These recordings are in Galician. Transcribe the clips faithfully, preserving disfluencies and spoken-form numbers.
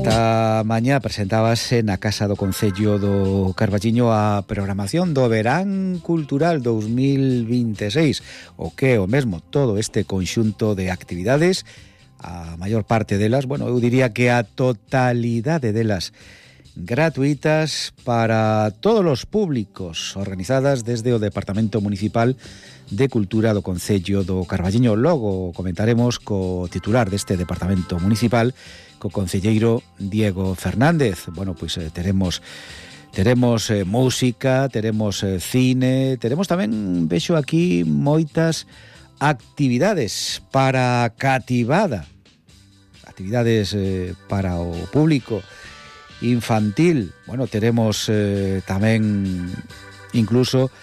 Esta mañá presentábase na Casa do Concello do Carballiño a programación do Verán Cultural dos mil vinte e seis, o que é o mesmo todo este conxunto de actividades, a maior parte delas, bueno, eu diría que a totalidade delas gratuitas para todos os públicos, organizadas desde o Departamento Municipal de Cultura do Concello do Carballiño. Logo comentaremos co titular deste Departamento Municipal, co concelleiro Diego Fernández. Bueno, pois eh, teremos teremos eh, música, teremos eh, cine, teremos tamén, vexo aquí, moitas actividades para cativada, actividades eh, para o público infantil. Bueno, teremos eh, tamén incluso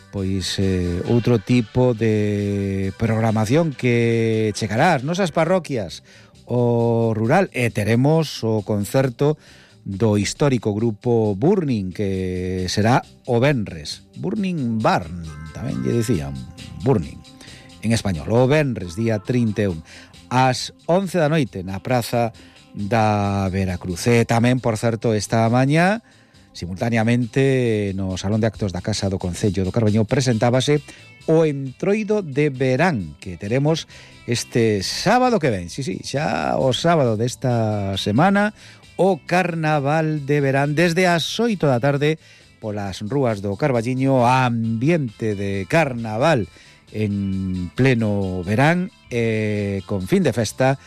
pois eh, outro tipo de programación que chegará ás nosas parroquias o rural, e teremos o concerto do histórico grupo Burning, que será o venres. Burning Barning, tamén lle dicían Burning en español, o venres, día trinta e un, ás once da noite na Praza da Veracruz. E tamén, por certo, esta mañá, simultaneamente no Salón de Actos da Casa do Concello do Carballiño, presentábase o Entroido de Verán, que teremos este sábado que ven, sí, sí, xa o sábado desta semana, o Carnaval de Verán, desde as oito da tarde, polas rúas do Carballiño, ambiente de carnaval en pleno verán, e con fin de festa,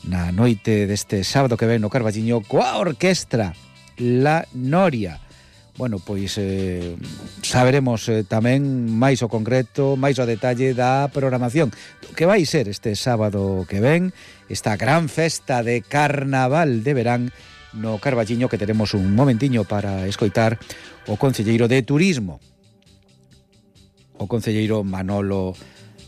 na noite deste sábado que ven no Carballiño, coa orquestra La Noria. Bueno, pois eh, saberemos eh, tamén máis o concreto, máis o detalle da programación que vai ser este sábado que ven, esta gran festa de carnaval de verán no Carballiño, que teremos un momentiño para escoitar o concelleiro de Turismo, o concelleiro Manolo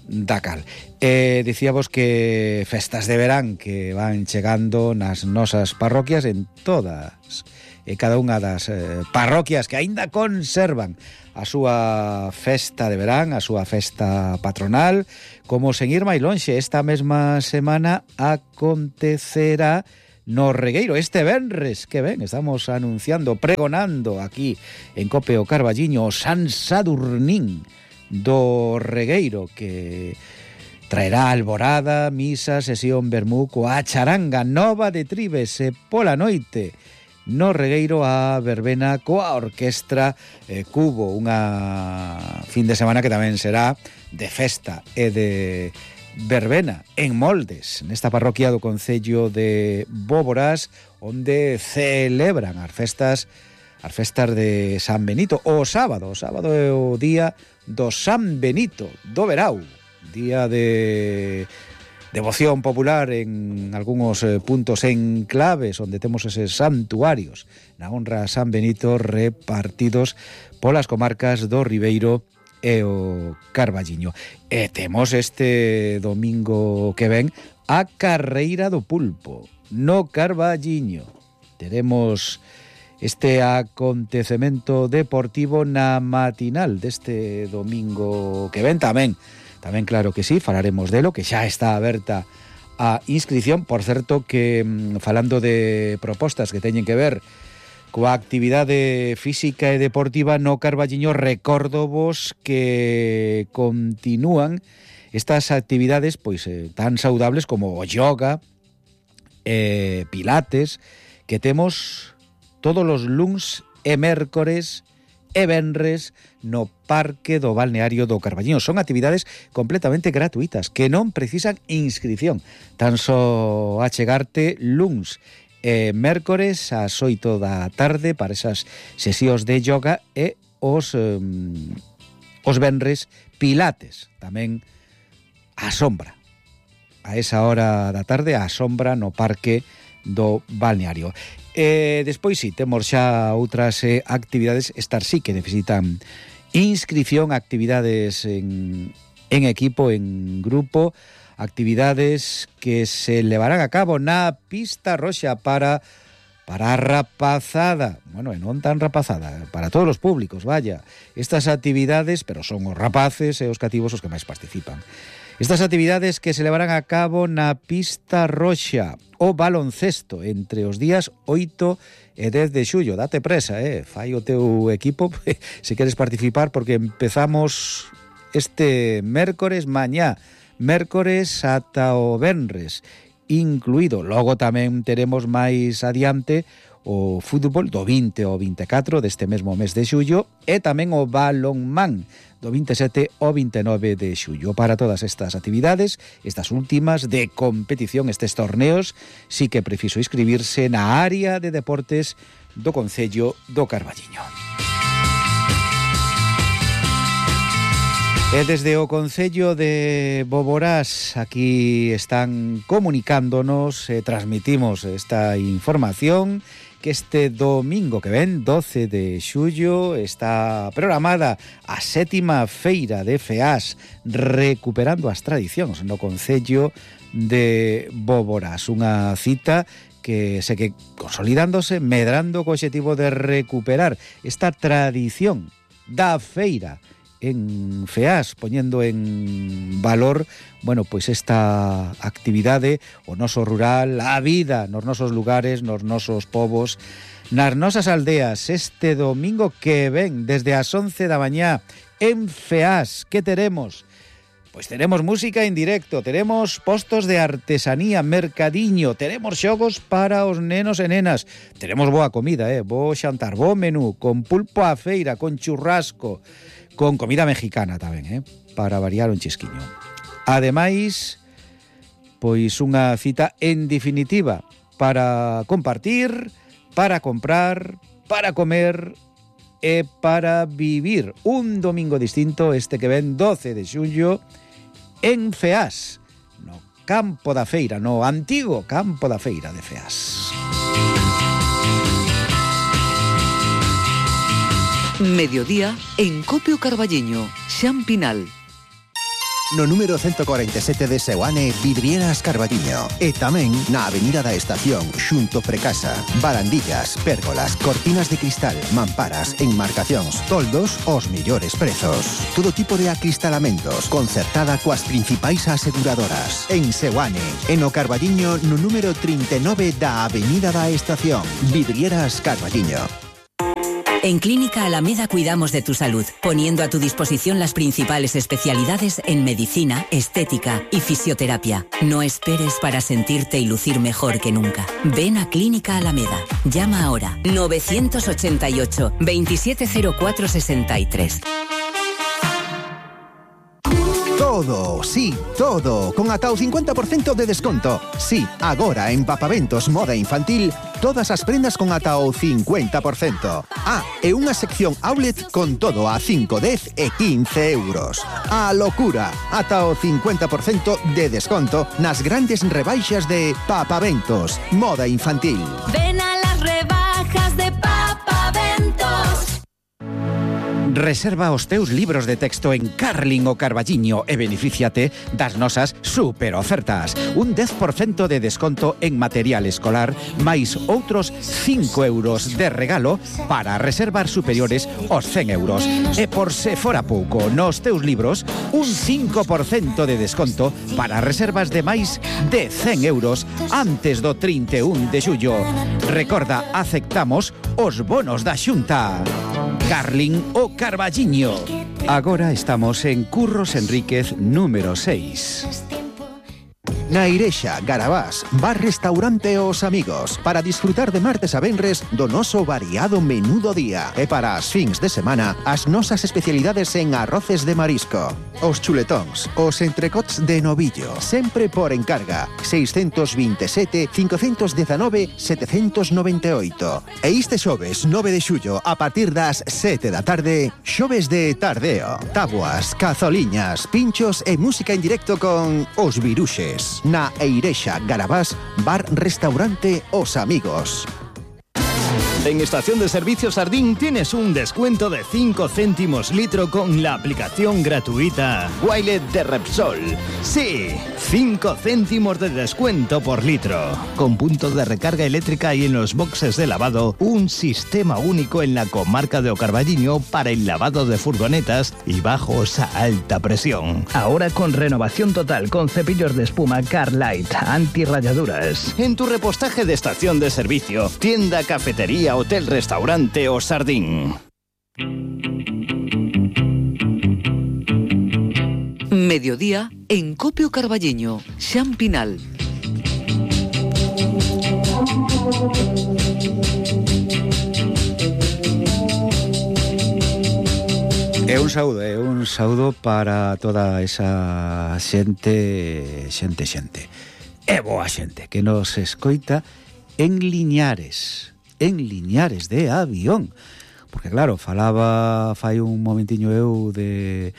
Dacal. Eh, dicíamos que festas de verán que van chegando nas nosas parroquias, en todas e cada unha das eh, parroquias que aínda conservan a súa festa de verán, a súa festa patronal. Como sen ir máis lonxe, esta mesma semana acontecerá no Regueiro, este venres que ven, estamos anunciando, pregonando aquí en Cope o Carballiño, o San Sadurnín do Regueiro, que traerá alborada, misa, sesión vermú, coa charanga nova de Tribes, e pola noite no Regueiro a verbena coa orquestra eh, Cubo, unha fin de semana que tamén será de festa e de verbena en Moldes, nesta parroquia do Concello de Bóboras, onde celebran as festas as festas de San Benito. O sábado, o sábado é o día do San Benito do Verao, día de devoción popular en algúns eh, puntos en claves onde temos eses santuarios na honra a San Benito repartidos polas comarcas do Ribeiro e o Carballiño. E temos este domingo que ven a Carreira do Pulpo no Carballiño. Teremos este acontecemento deportivo na matinal deste domingo que ven tamén. Tamén, claro que sí, falaremos delo, que xa está aberta a inscripción. Por certo que, falando de propostas que teñen que ver coa actividade física e deportiva no Carballiño, recórdovos que continúan estas actividades pois eh, tan saudables como o yoga, eh, pilates, que temos todos os luns e mércores e venres no Parque do Balneario do Carballiño. Son actividades completamente gratuitas que non precisan inscripción. Tan só achegarte luns e mércores ás oito da tarde para esas sesións de yoga, e os um, os venres pilates, tamén á sombra. A esa hora da tarde á sombra no Parque do Balneario. E despois si, temos xa outras eh, actividades, estas sí que necesitan inscripción, actividades en, en equipo, en grupo, actividades que se levarán a cabo na pista roxa para para a rapazada, bueno, e non tan rapazada, para todos os públicos, vaya. Estas actividades, pero son os rapaces e os cativos os que máis participan. Estas actividades que se levarán a cabo na pista roxa o baloncesto entre os días oito e dez de xullo. Date presa, eh? Fai o teu equipo se queres participar, porque empezamos este mércores mañá, mércores ata o venres incluído. Logo tamén teremos máis adiante o fútbol do vinte ao vinte e catro deste mesmo mes de xullo e tamén o balonmán do vinte e sete ao vinte e nove de xullo. Para todas estas actividades, estas últimas de competición, estes torneos, sí que é preciso inscribirse na área de deportes do Concello do Carballiño. E desde o Concello de Boborás aquí están comunicándonos, eh, transmitimos esta información, que este domingo que ven, doce de xullo, está programada a sétima feira de FEAS, recuperando as tradicións no Concello de Boborás. Unha cita que segue consolidándose, medrando co obxectivo de recuperar esta tradición da feira en FEAS, poñendo en valor, bueno, pois esta actividade, o noso rural, a vida nos nosos lugares, nos nosos povos, nas nosas aldeas. Este domingo que ven, desde as once da mañá, en FEAS, que teremos? Pois teremos música en directo, teremos postos de artesanía, mercadiño, teremos xogos para os nenos e nenas, teremos boa comida, eh, bo xantar, bo menú, con pulpo á feira, con churrasco, con comida mexicana tamén, eh, para variar un chisquiño. Ademais, pois unha cita en definitiva para compartir, para comprar, para comer e para vivir. Un domingo distinto este que ven, doce de xullo, en FEAS, no campo da feira, no antigo campo da feira de FEAS. Mediodía en Copio Carballiño, Xan Pinal. No número ciento cuarenta e sete de Seoane, Vidrieras Carballiño. E tamén na Avenida da Estación, xunto Precasa. Barandillas, pérgolas, cortinas de cristal, mamparas, enmarcacións, toldos, os mellores prezos. Todo tipo de acristalamentos, concertada coas principais aseguradoras. En Seoane, en o Carballiño, no número trinta e nove da Avenida da Estación. Vidrieras Carballiño. En Clínica Alameda cuidamos de tu salud, poniendo a tu disposición las principales especialidades en medicina, estética y fisioterapia. No esperes para sentirte y lucir mejor que nunca. Ven a Clínica Alameda. Llama ahora nueve ocho ocho, veintisiete cero cuatro sesenta y tres. Todo, sí, todo, con ata o cincuenta por cento de desconto. Sí, agora en Papaventos Moda Infantil, todas as prendas con ata o cincuenta por cento. Ah, e unha sección outlet con todo a cinco, dez e quince euros. A locura, ata o cincuenta por cento de desconto nas grandes rebaixas de Papaventos Moda Infantil. Ven a las rebajas de Papaventos. Reserva os teus libros de texto en Carlin o Carballiño e benefíciate das nosas super ofertas. Un dez por cento de desconto en material escolar, máis outros cinco euros de regalo para reservar superiores aos cen euros. E por se fora pouco, nos teus libros, un cinco por cento de desconto para reservas de máis de cen euros antes do trinta e un de xullo. Recorda, aceptamos os bonos da Xunta. Carlin o Carballiño. Agora estamos en Curros Enríquez número seis. Na Irexa, Garabás, bar restaurante Os Amigos, para disfrutar de martes a venres do noso variado menú do día. E para as fins de semana, as nosas especialidades en arroces de marisco. Os chuletóns, os entrecots de novillo, sempre por encarga, seiscentos veintisiete, quinientos diecinueve, setecientos noventa e oito. E este xoves nove de xullo, a partir das sete da tarde, xoves de tardeo, tabuas, cazoliñas, pinchos e música en directo con Os Viruxes. Na Eirexa, Garabás, bar restaurante Os Amigos. En Estación de Servicio Sardín tienes un descuento de cinco céntimos litro con la aplicación gratuita Wilet de Repsol. Sí, cinco céntimos de descuento por litro. Con puntos de recarga eléctrica y en los boxes de lavado, un sistema único en la comarca de O Carballiño para el lavado de furgonetas y bajos a alta presión. Ahora con renovación total con cepillos de espuma Carlight, antirrayaduras. En tu repostaje de estación de servicio, tienda, cafetería, hotel, restaurante o Sardín. Mediodía en Copio Carballiño, Xan Pinal. É un saúdo, é un saúdo para toda esa xente, xente, xente. É boa xente que nos escoita en Liñares, en Liñares de Avión. Porque claro, falaba fai un momentiño eu de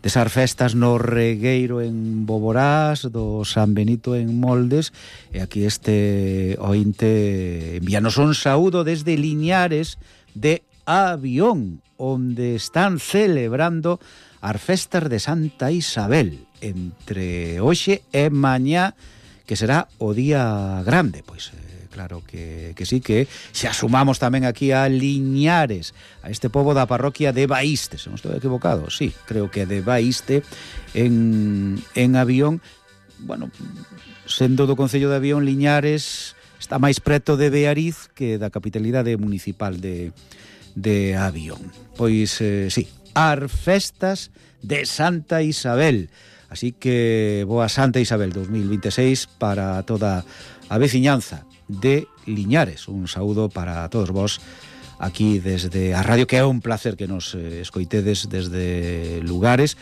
desas festas no Regueiro en Boborás, do San Benito en Moldes, e aquí este ointe envíanos un saúdo desde Liñares de Avión, onde están celebrando as festas de Santa Isabel entre hoxe e mañá, que será o día grande. Pois eh, claro que, que sí, que xa sumamos tamén aquí a Liñares, a este pobo da parroquia de Baíste, se non estou equivocado, sí, creo que de Baíste en, en Avión. Bueno, sendo do concello de Avión, Liñares está máis preto de Beariz que da capitalidade municipal de de Avión. Pois, eh, sí, as festas de Santa Isabel. Así que boa Santa Isabel dos mil veintiséis para toda a veciñanza de Liñares. Un saúdo para todos vos aquí desde a radio, que é un placer que nos eh, escoitedes desde lugares,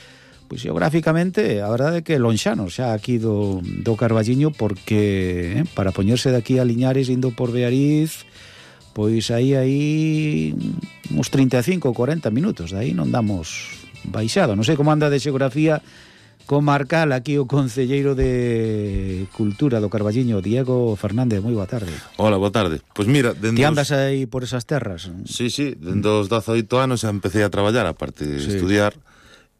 pois geográficamente, a verdade é que lonxanos xa aquí do, do Carballiño, porque eh, para poñerse de aquí a Liñares indo por Beariz, pois aí aí uns trinta e cinco, cuarenta minutos, de aí non damos baixado. Non sei como anda de xeografía comarcal aquí o concelleiro de Cultura do Carballiño, Diego Fernández. Moi boa tarde. Hola, boa tarde. Pois mira, dende Ti andas os... aí por esas terras? Sí, sí, dende os dezaoito anos xa empecé a traballar, aparte de sí. estudiar,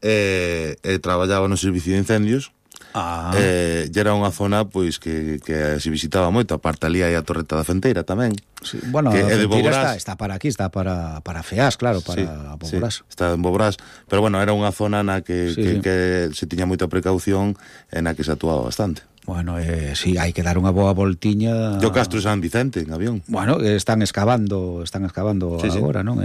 e, e traballaba no servicio de incendios. Ah. Eh, e era unha zona pois que, que se visitaba moito, aparte ali hai a Torreta da Fenteira tamén. Sí, bueno, que a Fenteira está, está para aquí, está para, para Feás, claro, para sí, Boborás. Sí, está en Boborás, pero bueno, era unha zona na que, sí, que, sí. que se tiña moita precaución e na que se actuaba bastante. Bueno, eh, sí, hai que dar unha boa voltiña. Do Castro San Vicente, en Avión. Bueno, están excavando, están excavando sí, agora, sí. non?